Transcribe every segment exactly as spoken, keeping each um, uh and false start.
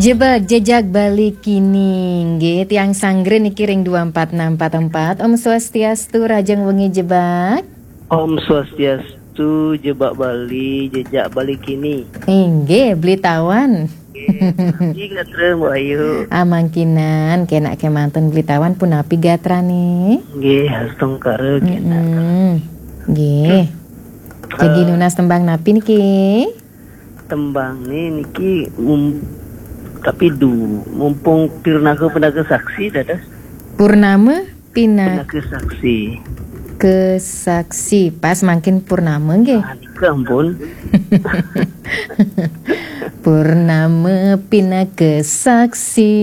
Jebak jejak Bali kini, nggih, tiang sanggra niki ring dua empat enam empat empat. Om Swastiastu, rahajeng wengi Jebak. Om Swastiastu, Jebak Bali, jejak Bali kini. Inggih, Beli Tawan. Nggih, punapi gatra, Mbok Ayu? Amangkinan, kenak kemanten Beli Tawan, punapi gatrane? Nggih, astungkara kenak. Mm-mm. Nggih. Jagi Eh. nunas tembang napi niki? Tembang ni niki mum-, tapi du, mumpung Purnama Pinaka Saksi dados. Purnama Pina- Pinaka Saksi. Ke Saksi, pas mangkin purnama nggih. Ah, nika ampun. Purnama Pinaka Saksi.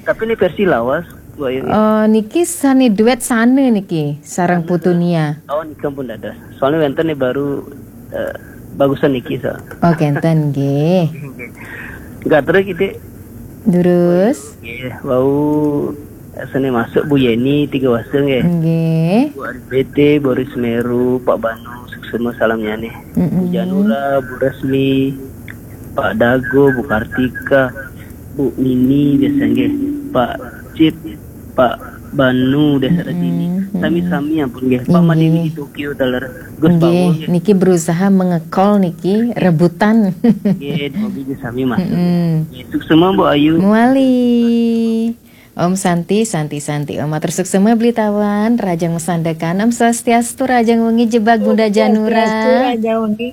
Tapi ini versi lawas, Bu Ayu. Oh, niki sane duet sane niki sareng Sane Putu duet. Nia. Oh, nika pun dados. Soalnya wenten nih baru, eh, bagusan niki, so. Oh, kenten nggih. Gatra kita. Durus. Nggih, wau sane masuk Bu Yeni Tiga Wasa nggih. Nggih. Bu Ari B T, Boris Meru, Pak Banu, suksma salamnyane. Mm-mm. Bu Janura, Bu Resmi, Pak Dago, Bu Kartika, Bu Nini biasa nggih. Pak Cip, Pak Banu, Desa Mm-mm. Dini. Mm-mm. Sami-sami ampun nggih. Pak Inggih. Madini di Tokyo taler. Gus Nggih, Bawo nggih. Niki berusaha mengekol niki, rebutan. Nggih, dua biji sami masuk. Mm-mm. Nggih, suksma Mbok Ayu. Muali. Om Santi, Santi, Santi. Om matur suksma Beli Tawan, rahajeng masandekan. Om Swastiastu, rahajeng wengi Jebak Bunda Janura. Swastiastu, rahajeng wengi.